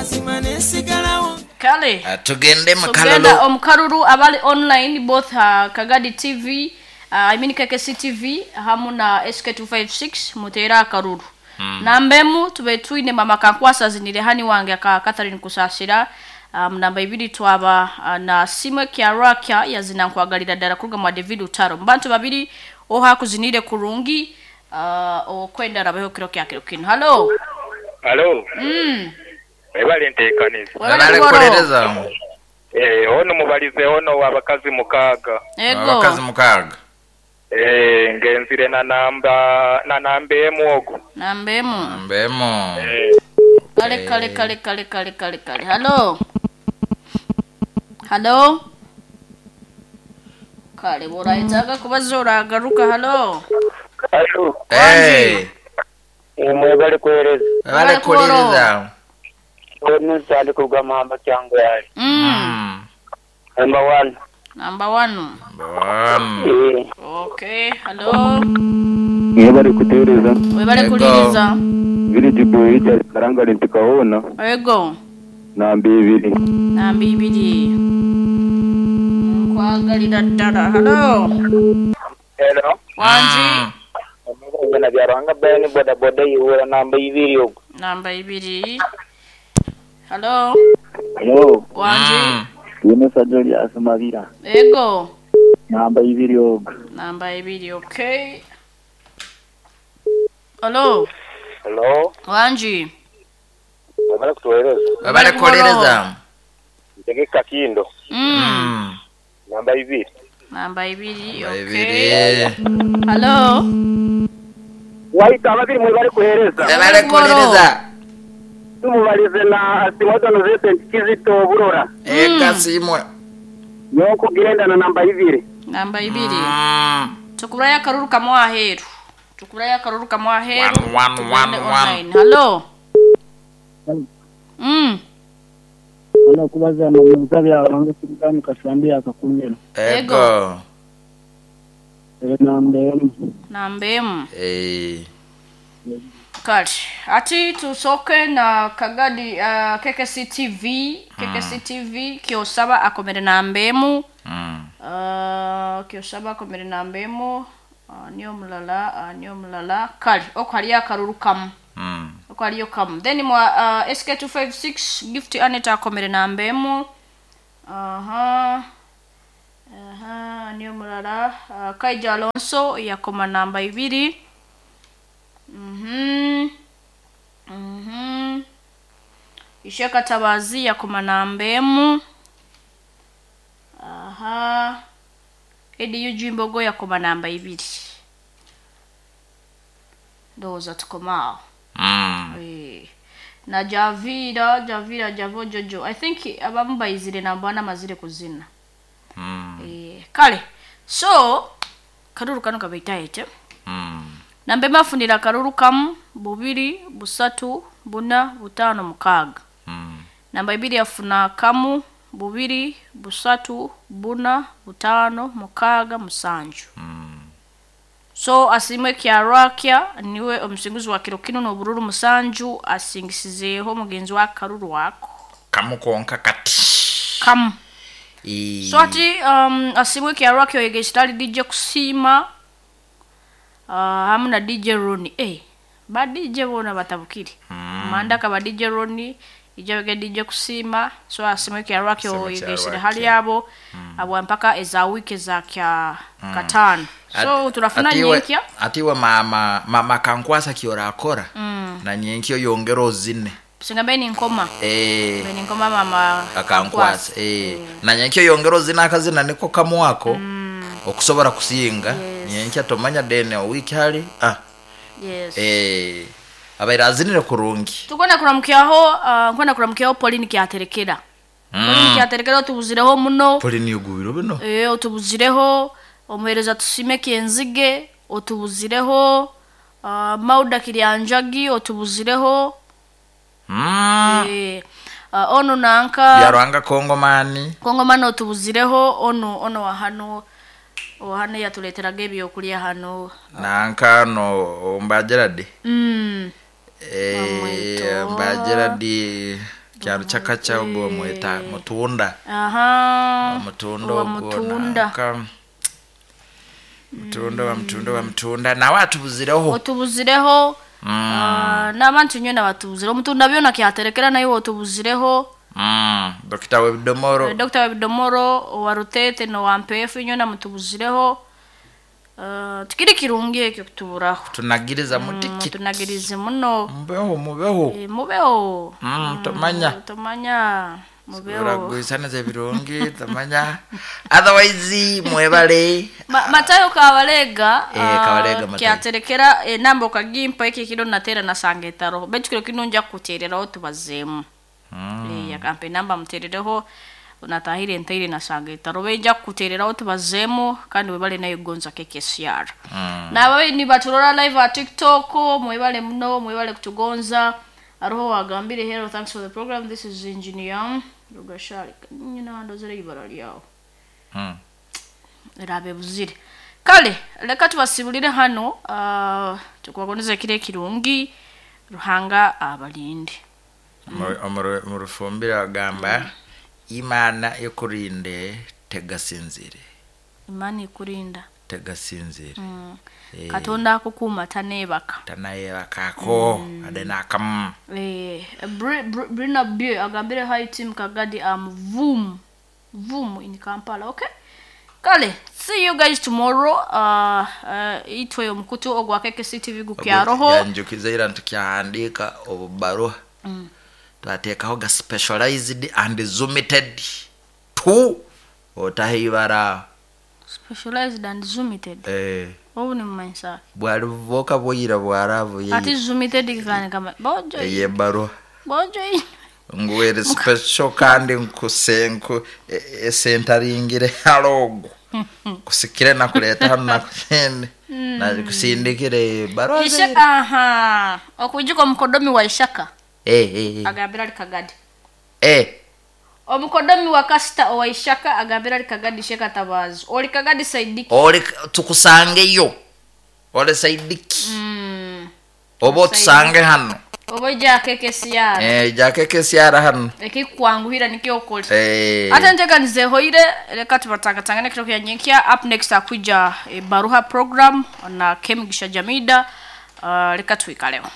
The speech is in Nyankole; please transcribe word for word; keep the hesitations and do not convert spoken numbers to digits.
Mazima nesigalawo. Kale. Ah, tugende So mukalulu. genda omukaruru abali online both uh, Kagadi T V, uh, I mean K K C T V hamu na S K two five six mutera akaruru. Mm. Nambemu tube twine mama Kankwasa zinire hani wange ka Catherine Kusasira. Um, namba ibiri twaba uh, na Simwe Kyarakia yazina nkwagalira ddala kuruga mwa David Utaro. Mbantu babiri oha kuzinire kurungi uh, okwenda rabeho kiro kya kiro kino. Hello. Hello. Mm. Webale nteekaniza. Webale kukolereza. Eh, ono mubalize ono abakazi mukaaga. Ego. Abakazi mukaaga. Eh, ngenzire na namba na namba emu ogo. Namba emu. Namba emu. Eh. Kale kale kale kale kale kale kale. Hello. Hello. Kale borayitaga kubazora agaruka. Hello. Hello. Hey. Mwebale kuhereza. Webale kuhereza. Ono sali kugamba kyangu yali. Mm. Number one. Number one. Number one. Eh. Okay, hello. Mwebale kutereza. Mwebale kuliriza. Village boy karanga lintikaona. Ego. Namba ibiri. Namba ibiri. Nkwagalira ddala. Hello. Hello. Wanji. Ngena byaranga bayani boda boda yiwura namba ibiri ogo. Namba ibiri. Hello. Hello. Wanji. Yine sajoli asumabira. Ego. Namba ibiri ogo. Namba ibiri, okay. Hello. Hello. Wanji. Wabale kutueleza. Wabale kueleza. Ndege Kakindo. Mm. Namba ibiri. Namba ibiri, okay. Hello. Waita ababiri mwebale kuhereza. Wabale kuhereza. Tumubalize na Simodono Vincent Kizito Burora. Eh, kasimwe. Yoko girenda na namba ibiri. Namba ibiri. Mm. Tukuraya karuru kamwa aheru. Tukuraya karuru kamwa aheru. One, one, one, one. Hello. Mm. Ana kubaza na mzabi abange kugamu kasambia akakumira. Ego. Namba emu. Namba emu. Eh. Kale, ati tusoke na Kagadi uh, K K C T V, K K C T V kyosaba akomere namba emu. Mm. Uh, kyosaba akomere namba emu. Uh, niyo mulala, uh, niyo mulala. Kale, oko haliyo akaruru kamu. Mm. Oko haliyo kamu. Then mwa uh, S K two five six gift Aneta akomere namba emu. Aha. Aha, niyo mulala. Uh, Kaija Alonso yakoma namba ibiri. Mhm. Mhm. Isheka Tabazi yakoma namba emu. Aha. Edi Yujimbogo yakoma namba ibiri. Ndoza tukomao. Mm. Eh. Na Javira, Javira Javo Jojo. I think abamu bayizire namba na mazire kuzina. Mm. Eh, kale. So karuru kano kabaitaete. Mm. Nambe mafunira karuru kamu bubiri busatu buna butano mukaga. Mm. Namba ibiri afuna kamu bubiri busatu buna butano mukaga musanju. Mm. So asimwe Kyarakia niwe omusinguzi wa kiro kino n'obururu musanju asingisizeeho mugenzi wa karuru wako. Kamu konka kati. Kamu. E... So ati um, asimwe Kyarakia oyegesitali D J Kusima. Uh, hamu na D J Roni. Eh, ba D J bona batabukiri. Mm. Manda ka ba D J Roni, ijabege D J Kusima, so asimwe Kyarakia oyegesitali hali yabo mm. Abo mpaka eza wiki za kya mm. katano. So At, turafuna atiwe, nyenkya. Atiwe mama mama Kankwasa kiora akora. Mm. Na nyenkyo yongero zine. Singa beni nkoma. Eh. Beni nkoma mama Kankwasa. Eh. Na nyenkyo yongero zina akazina niko kamwako. Mm. Okusobora kusinga. Yes. Nyenkya tomanya dene wiki hali. Ah. Yes. Eh. Abaira azinire kurungi. Tukona kuramukyaho, uh, nkona kuramukyaho Pauline kyaterekera. Mm. Pauline kyaterekera otubuzireho muno. Pauline yugubiro bino. Eh, otubuzireho omuhereza tusime kenzige, otubuzireho uh, Mauda Kiryanjagi otubuzireho. Mm. Eh, uh, ono nanka Byarwanga Kongomani. Kongomani otubuzireho ono ono wa hano ohane yatuleteraga ebyokulya hano. Nanka no Mbageradi. Mm. Eh, Mbageradi. Kyaro kyakacha ogwo mweta mutunda. Aha. Mutunda Owa ogwo mutunda. nanka. Mutunda wa mutunda wa mutunda nawe atubuzireho. Otubuzireho. Ah, n'abantu nywena batubuzireho mutunda byona kyaterekera naye otubuzireho. Mm. Dokita webidomoro. Dr. Webidomoro owa Rutete nowa Mpefu nywena mutubuzireho. Uh, tikiri kirungi ekyo kutuburaho. Tunagiriza mutiki. Tunagirize muno. Mubeho mubeho. Eh, mubeho. Mm, tomanya. Tomanya. Mubeho. Uragwisaniriza ebirungi tomanya. Otherwise mwebale. Ma, Matayo Kabalega Eh, ah, Kabalega Matayo. kyaterekera enamba okagimpa eki kiro natera nasanga etaroho betu kiro kino nja kutereraho tubazeemu mm. eh, akampa enamba muterereho natahire ntaire nasanga etaroho benja kutereraho tubazeemu kandi webale nayo gonza K K C R mm. nababe nibaturora live at TikTok, mwebale muno, mwebale kutugonza. Aroho wagambire, "Hello, thanks for the program, this is engineer Rugashari." Nyina ndozere ibara lyawo. Mm. Erabe buzire. Kale reka tubasibulire hano, uh, tukubagoniza ekiro ekirungi, Ruhanga abalinde. Mu- mu rufumbire bagamba Imana ikurinde tegasinzire. Imana ikurinda. Tegasinzire. mm. Eh. Katonda akukuuma taneebaka. Tanayebakako ade nakamu. Eh, Bri- Bri- brina b agambire, "Hi team Kagadi, am Vum Vum in Kampala." Okay, kale see you guys tomorrow. uh, uh, itwe omukutu ogwa K K C T V gukyaroho. Yanjukiza ira ntukyahandika obubaruha twateekaho ga specialized and zoomited to otaho ibara. Specialized and zoomited. Eh, obu nimumanyisa. Bwali buvoka bwoyira bwaravu. Ati zoomited kani kama bojo. Eyebaruha. Bojo. Nguwere special kandi nkusenku esentaringire halogo kusikire nakuleta hano nakusende nakusindikire baruha. Isha aha okwijuka omukodomi wa Ishaka Eh, eh, eh. agambira ali Kagadi. Eh, Omukodomi wa kasita owa Ishaka agambira ali Kagadi, Sheka Tabazi oli Kagadi Saidiki. Oli tukusangeyo ole Saidiki. mm. Oba otusange hano. Oba ija K K C R. Eh, ja K K C R hano. Ekikwanguhira nikyo okole. Eh, Ate nteganize hoire, reka tubatangatangane kiro kya nyenkya. Up next akuja e, baruha program na Kemigisha Jamida. uh, reka twikaleho.